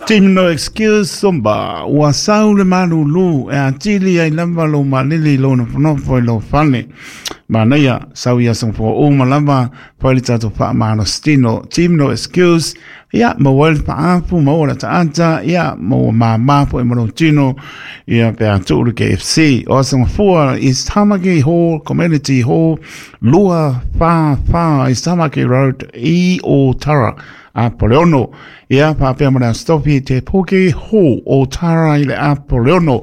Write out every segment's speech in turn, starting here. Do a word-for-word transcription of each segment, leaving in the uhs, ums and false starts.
Team No Excuse Somba, ua sau le malulu e atili ai lava lo malili lo nofonofo i lo fale. Manaia, sau ia songfo uma lava, fai le tatou faamalositino. Team No Excuse, ia, maua ai le faapu, maua le ataata, ia, maua mamā foi ma lou tino, ia, pe a tuu le K F C. O Songfua, East Tamaki Hall, Community Hall, lua fa fa, East Tamaki Road, i Otara. Apoleono, ia faapea ma le asotofi te Poke Hall o Tara i le Apoleono.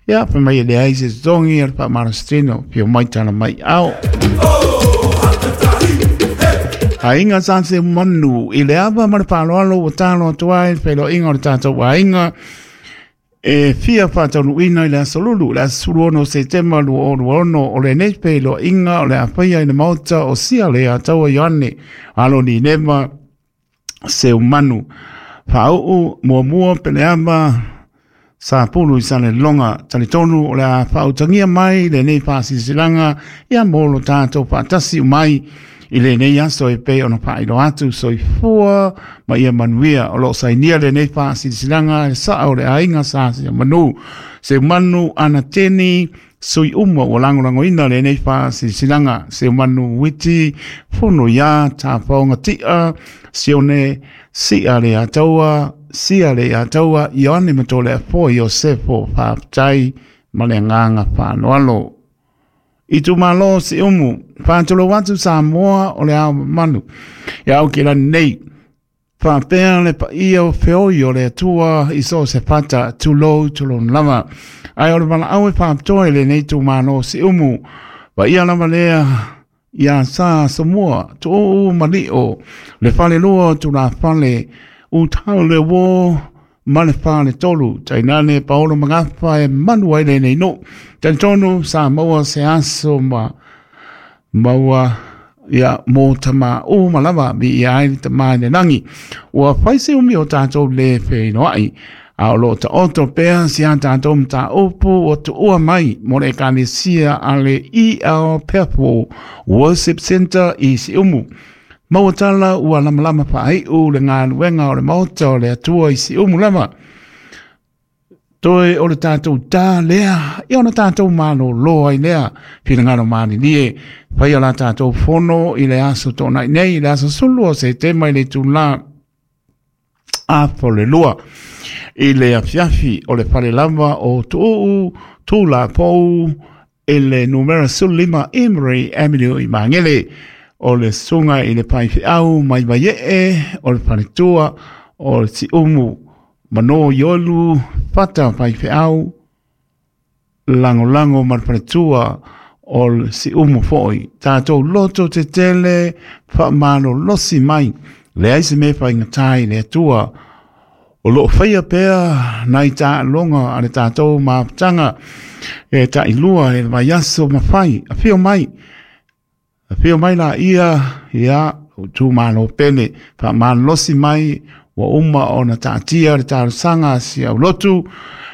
Ia, fa mai e leai se totogi a le faamalositino, fio mai tala mai ao. Aiga sa se manu i le ava ma le faaaloalo ua talo atu ai le feiloaiga o le tatou aiga e fia faataunuuina i le aso Lulu, le aso sefulu ono o Setema lua o lua ono, o lenei feiloaiga o le a faia i le maota o sia le Ataua Ioane alo ni Nema Seumanu. Faauu muamua peleama sa pulu i Salelologa. Talitonu o le a faautagia mai lenei faasilasilaga ia mo lo tatou faatasi umai i lenei aso e pei ona faailoa atu. Soifua ma ia manuia. O loo sainia lenei faasilasilaga e saa o le aiga sa Seumanu, Seumanu Anateni, sui uma ua lagolagoina lenei faasilasilaga: Seumanu Witi Fono ia Tafaoga Tia Sione Sia le Ataua Sia le Ataua Ioane Matoleafoa Iosefo. Faafetai ma le agaga faaaloalo. I tumalo Siumu, faatulou atu Samoa o le ao mamalu ia au kilani nei faapea le paia o feoi o le Atua i so o se fata, tulou tulou lava. Ae o le valaau e faapitoa i lenei itumalo Siumu, paia lava lea ia Sa Somua Tuuu Malio, le falelua o tulafale utau le uō ma le faletolu, tainane Paolo Magafa e manu ai lenei nuu. Talitonu sa maua se aso ma maua ia mō tama uma lava mi ia ai le tamā i le lagi. Ua fai se umi o tatou le feinoai, a o loo taoto pea si a tatou mataupu ua tuua mai mo le ekalesia a le E L Pethel Worship Center i Siumu. Maua tala ua lamalama faaiu le galuega o le maota o le Atua i Siumu lava. Toe o le tatou tā lea, ia ona tatou malōlō ai lea, finagalo malilie, faia la tatou fono i le aso toonai nei, i le aso sulu o Setema i le itulā afa o le lua i le afiafi o le fale lava o Tuuu Tulapou i le numera sefulu lima Emery Avenue i Magele. O le susuga i le faifeau mai Vaiee o le faletua o le Siumu Mano Iolu Fata faifeau lagolago ma le faletua o le Siumu foi. Tatou loto tetele faamalolosi mai, leai se mea faigata i le Atua. O loo faia pea nai taaloga a le tatou mafutaga e tailua e le vaiaso ma fai. Afio mai, afio mai laia ia itumalo pele, faamalolosi mai. Ua uma ona taatia le talosaga a si aulotu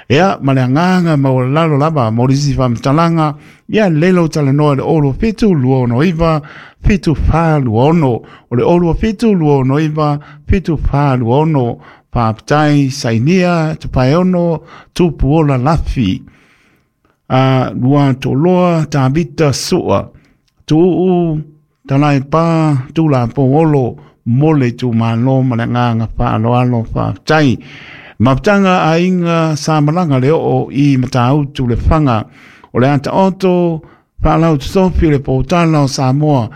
ia ma le agaga maualalalo lava. Mo lisi faamatalaga ia lelei lou talanoa i le olo fitu lua ono iva fitu fa lua ono, o le olo fitu lua ono iva fitu fa lua ono. Faafetai. Sainia Tupaeono Tupuola Lafi a lua toloa Tavita Sua Tuuu Talaipa Tulapo mo le itumalo ma le agaga faaaloalo. Faafetai. Mafutaga Aiga Sa Malaga le Oo i Matautu Lefaga o le ataoto faalautotofi le potala o Samoa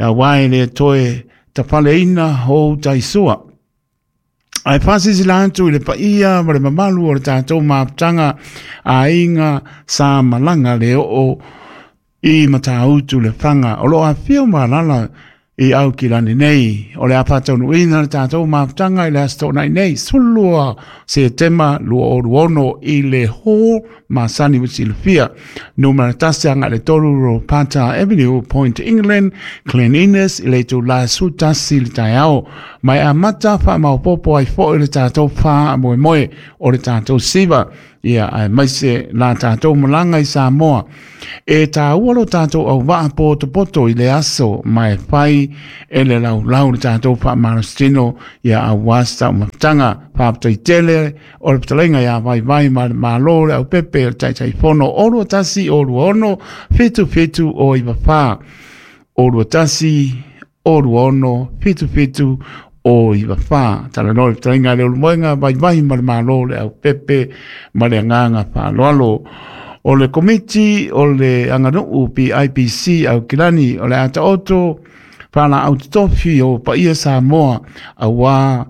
auā e le toe tafaleina ou taisua. Ae faasilasila atu i le paia ma le mamalu o le tatou mafutaga Aiga Sa Malaga le Oo i Matautu Lefaga o loo afio ma alaala i Aukilani nei. O le a faataunuuina le tatou mafutaga i le aso Toonai nei, sefulu lua Setema lua o lua ono i le hall masani ua silafia, numera tasi agai le tolu Ropata Avenue, Point England, Glen Innes i le itulā sefulu tasi le taeao ma e amata faamaopoopo ai foi le tatou faamoemoe o le tatou siva. Ia ae maise la tātou malanga i Samoa. E tāua lo tātou au waa poto i le aso mai whai e le lau lau le tātou wha marostino ia au wasta o maptanga whaptoi tele o le ptalenga ia vai vai ma le malo le au pepe o le taitai fono olua tasi olua ono fitu fitu o iwa wha olua tasi olua ono fitu fitu o iwa wha. Tala no le ptalenga le ulumoenga vai vai ma le malo le au pepe ma le anganga whaaloalo. O le komiti o le anganuu P I P C au kilani o le ata oto whala au tofi o paia Samoa awa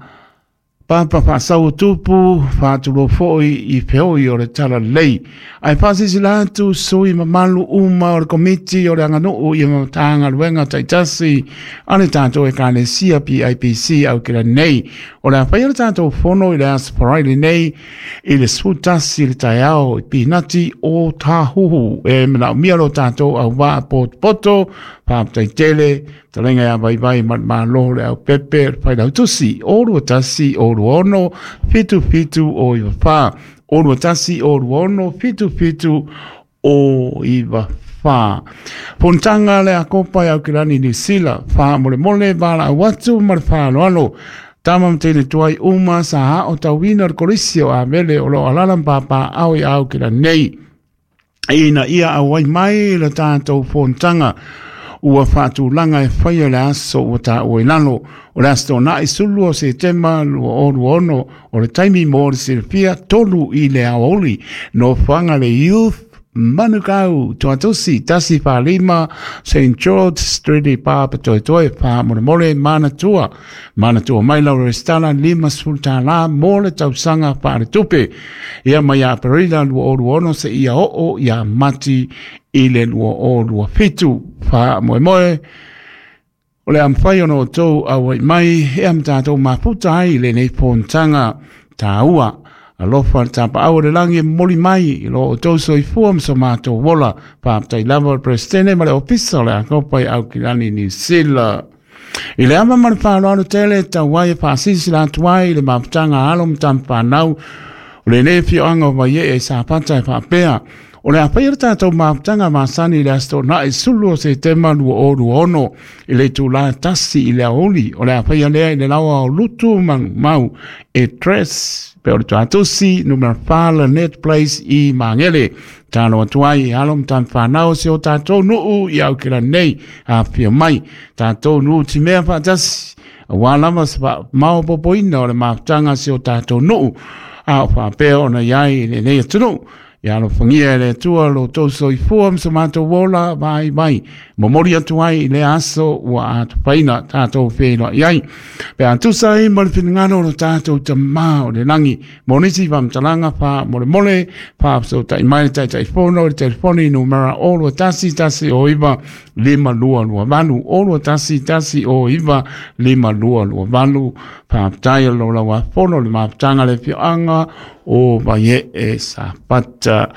papa whaasau tupu whaatulofoi i feoi o le tala lei. Ai whaasisila atu sui mamalu uma o le komiti o le anganuu i mamatanga luenga taitasi a le tātou e kānesia P I P C au kila nei. O le awhai o le tātou fono i le asparai nei i le sutasi le taiao i pinati o tāhuhu. E mana umia lo tātou au waa poto whaptai tele, talenga ia vai vai ma ma loho le au pepe, whai lau tusi, orua tasi, orua ono, fitu fitu o iwa wha. Orua tasi, orua ono, fitu fitu o iwa wha. Pontanga le akopa i aukirani New Zealand, wha mole mole, wala awatu, ma le whaaloalo. Tama mtene tuai uma sa ha o tauina le korisi o a mele o lo alala mpapa au i aukirani nei. Ina ia awai mai le tātou fontanga ua whaatulanga e whaia le aso ua tā ua ilalo. O le aso nā i sulu o se tema lua oru ono o le taimi mo le sirifia tolu i le aoli. No whanga le youth Manukau, Tuatusi, Tasi Whalima, Saint George Street i Papa Toi Toi, Pā More More, Manatua. Manatua mai lau restala, lima sultala, mole tausanga whaare tupe. Ia mai a Perila, lua oru ono se ia oo, ia mati i le lua o lua fitu. Wha moe moe, o le amwhai ono o tau awai mai, e am tātou maputa ai le nei pontanga tāua. Alofa le tapa au le langi moli mai i lo o tau soifua mso mātou wola. Whaptai lava o le presidente ma le ofisa o le akopa i Aukilani New Zealand. I le ama ma le whaaloalo tele tau ai e whaasisi la atuai i le maputanga alo mtamwhanau. O le nei fioanga o vai e sapata e whaapea. O le awhai le tātou maputanga masani i le asto nā i sulu o se tema lua o lua ono i le tūlā tasi i le aoli. O le awhai alea i le lawa o lutu manu mau e tres. Pe o le tuatusi, numera whala net place i Mangele. Tāno atuai, alo mtan whanau se o tātou nuu i au kira nei a whia mai. Tātou nuu ti mea whaatasi. A wā lava se wha mao popoina o le maputanga se o tātou nuu. A o whapea ona iai i le nei atunu. Ia alo whangia e le atua lo tau soifua mso mātou wola vai vai. Momori atu ai i le aso ua atupaina tātou whenua iai. Pe atusa i mo le whingano lo tātou ta mā o le langi. Monisi whamtalanga wha mole mole. Wha so tai mai tai tai fono le telefoni numera olua tasi tasi o iwa lima lua lua valu. Olua tasi tasi o iwa lima lua lua valu. Wha aptaia lo lawa fono le maptanga le fioanga o vai e sapata.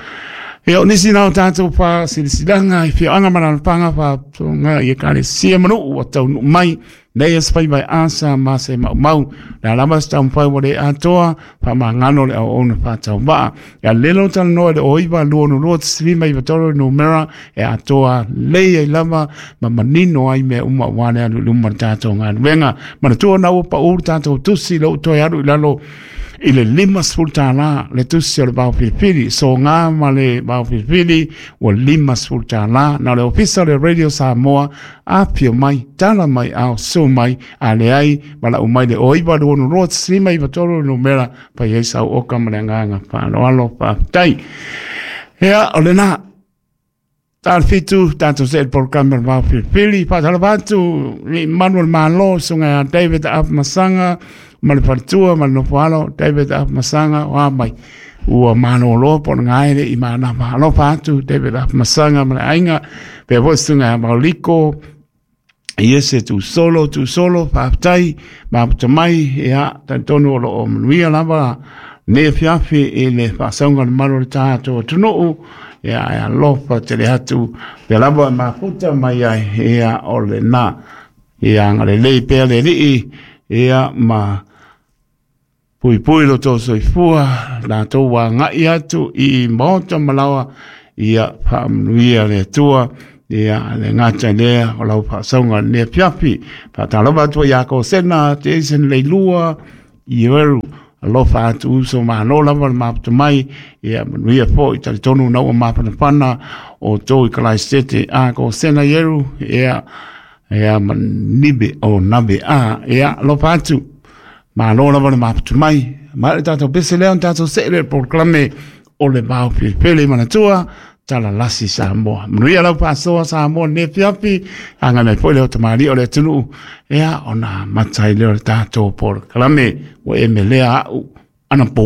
Ia o nisi nao tātou wha silisilanga i fioanga manalapanga wha tonga i e kare sia manu ua taunu mai nei e spai vai asa ma se mau mau le alama se taumpai wa le atoa wha mangano le au ona wha waa. Ia lelo tala noa le oiwa lua no lua tisilima i watoro numera e atoa lei e lava ma manino ai mea uma wale alu luma tātou ngā nuenga. Manatua na ua pa uru tātou tusi lo utoe alu i lalo i le lima sefulu le tusi o le vaofilifili so ngā ma le vaofilifili ua lima sefulu na le ofisa o le Radio Samoa apio mai tala mai ao su mai a le ai ma lau mai le oiva lua ono lua tisilima iva tolu numera pai ai sau oka ma le agaga faaaloalo faafetai. Ia o lenā Tal fitu, tātou se el programa le vaofilifili faatalava atu i Manuel Malo suga ia David Afamasanga ma le faletua ma le nofoalo David Afamasanga o a mai ua malōlō po o le gaele i manava alofa atu David Afamasanga ma le aiga pea foʻi suga ia Mauliko i ese tu solo tu solo faafetai maputa mai ia talitonu o loo manuia lava nei afiafi i le faasauga o le malu o le tatou atunuu ia e alofa tele atu pea lava e mafuta mai ai ia o lenā ia agalelei pea le alii ia ma Puipui lo tou soifua, latou agai atu i maota ma laoa, ia faamanuia le Atua. Ia le gata i lea o lau faasauga i lenei afiafi. Faatalofa atu ai ia Kosena, Jason Leilua, Ieru, alofa atu uso malo lava le mafuta mai, ia manuia foi talitonu na ua mafanafana o tou i Kalaisete a Kosena Ieru, ia ia manibe o nabe a, ia alofa atu. Malo lava le mafuta mai. Ma le tatou pese lea, o tatou see le polokalame o le Vao Felefele manatua, talalasi Samoa. Manuia lau faasoa Samoa lenei afiafi, agai mai foi le tamalii o le atunuu, ia ona amata ai lea o le tatou polokalame ua e melea au anapo.